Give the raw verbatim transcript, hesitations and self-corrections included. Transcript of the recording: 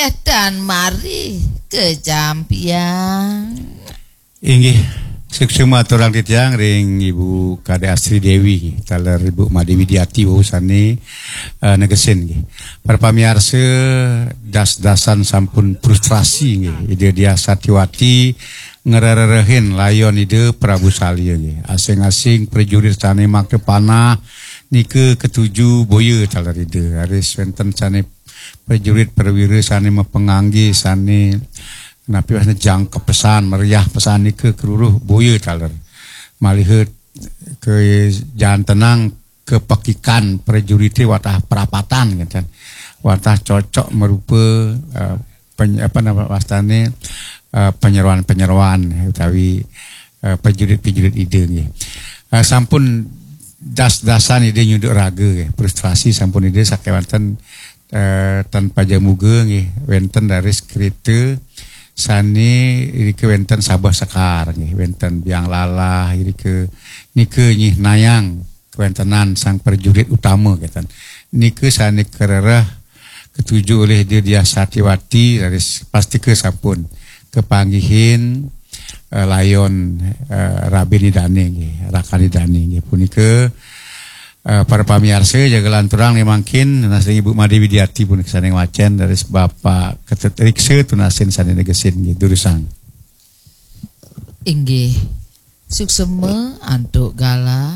Edan mari kejampian. Inggih, suksma aturang titiang ring Ibu Kadek Astri Dewi, taler Ibu Made Widiati wau sane, eh, negesin nggih. Para pamiarsa, das-dasan sampun frustrasi nggih. Ida Diah Satiwati ngrererehin layon Ida Prabu Salya nggih. Asing-asing prajurit sane makta panah nika katuju boya taler Ida. Raris wenten sane prajurit perwira sane mapangangge sane napi wasna jangkep pesan, meriah pesan nika karuruh boya taler. Maliha kajantenang kapekikan prajurite watah prapatan ngeten. Watah cocok marupa, eh, peny-, apa nama wastane, eh, penyeruan-penyeruan utawi, eh, prajurit-prajurit Ida nggih. Eh, sampun das-dasan Ida nyunduk raga nggih. Frustrasi sampun Ida sakewanten, eh, tan pajamuga nggih, wenten raris kereta sane irika wenten sabeh sekar nggih, wenten biang lalah irika nika nyihnayang kawentenan sang prajurit utama keten. Nika sane karereh katuju olih Ida Diah Satiwati raris pastika sampun kapanggihin, eh, layon, eh, rabin Idane nggih, rakan Idane nggih. Punika, eh, para pamiarsa, jaga lanturang nih mangkin, nunas ring Ibu Made Widiati punika sane ngwacen raris Bapak Ketut Riksa tunasin sane negesin nggih, durusang. Inggih. Suksma antuk galah